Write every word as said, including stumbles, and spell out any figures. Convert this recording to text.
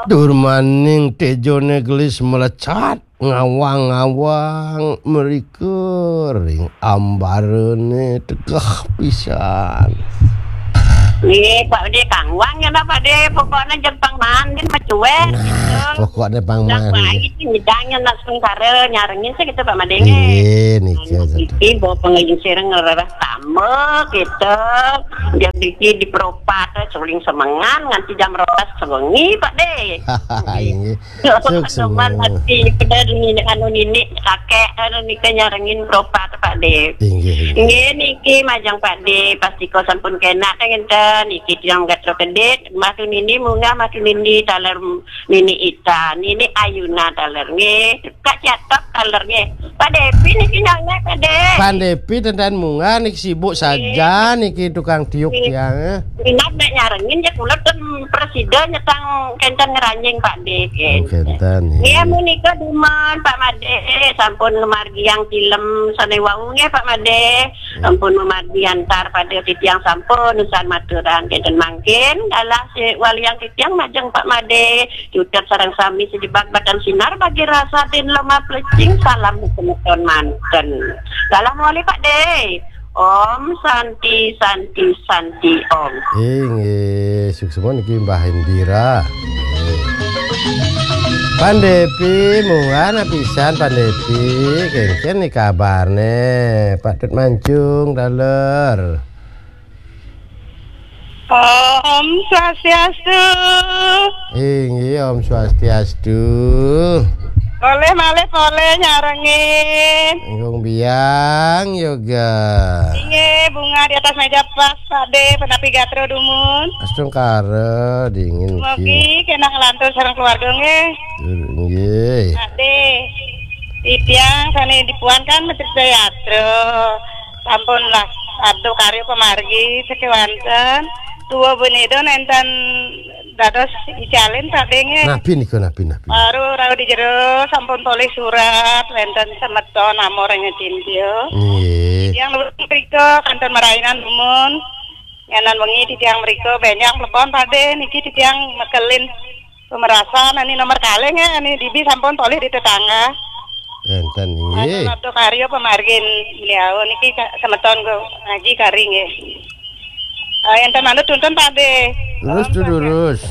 Durmaning tejone gelis melecat ngawang-ngawang mrika ring ambarane tegeh pisan. Nggih, Pak De kangwang ya, Pak De. Pokoknya jepang mandin macuek. Nah, gitu. Pokoknya pang mandin. Baik, nyidangnya nak sementara nyarengin sih gitu, Pak Made. Nggih, nika. Iki bawa pengajian sireng ngerereh tambah gitu. Jam iki diperopat, suling semengan nganti jam rolas sewengi, Pak De. Nggih. Suksma. Teman hati, pedal nini, anu nini, kakek, anu nika nyarengin peropat, Pak De. Inggih, inggih. Nggih, niki majeng Pak De, pasti kok sampun kena kan ngenten, niki tiang gatra kedit, matu nini munggah, matu nini taler nini Ita, nini Ayuna taler nggih. Kak Catok taler nggih. Pak Depi niki nyonge, Pak De. Pak Depi tenten munggah niki sibuk saja niki tukang tiup tiang, eh. Minat nek nyarengin ya kula ten presida nyetang kenten ngeranjing Pak De. Oh, kenten, nggih. Nggih, menika dumun Pak Made sampun ngemargiang film sane wau nggih Pak Made. Sampun memargi antar pada titiang sampun usan maturan kenten mangkin dalah si waliang titiang majeng Pak Made. Cutet sareng sami sejebak batang sinar bagi rasa din lemah plecing. Salam semeton manten. Salam wali Pak De. Om Santi, Santi, Santi Om. Inggih, suksma niki Mbah Indira. Pandepi, munggah pisan Pandepi. Kengken ni kabarne. Patut mancung daler. Om Swastiastu. Inggih, Om Swastiastu. Boleh malih boleh nyarengin. Ingkung biang yoga. Inggih, bunga di atas meja pas, Pak De, penapi gatra dumun. Astungkara dingin. Mugi kena ngelantur sareng keluarga nggih. Nggih. Pak De. Titiang sane dipuan kan Mesir Jayatra. Sampun lah, sabda karya pamargi sekewanten. Tua beneda nenten dados icalin Pak De nggih. Napi nika, napi, napi? Baru rauh di jero sampun polih surat wenten semeton amor ing Cintya. Nggih. Titiang nuwun mrika kantun marainan dumun. Nyanan wengi titiang mrika benjang plepon Pak De niki titiang mekelin pemerasan ani nomor kalih nggih ani dibi sampun polih di tetangga. Enten nggih. Anu sabda karya pamargin beliau niki ka-, semeton go ngaji kari nggih. Ah, enten manut tuntun Pak De. Terus tu lurus.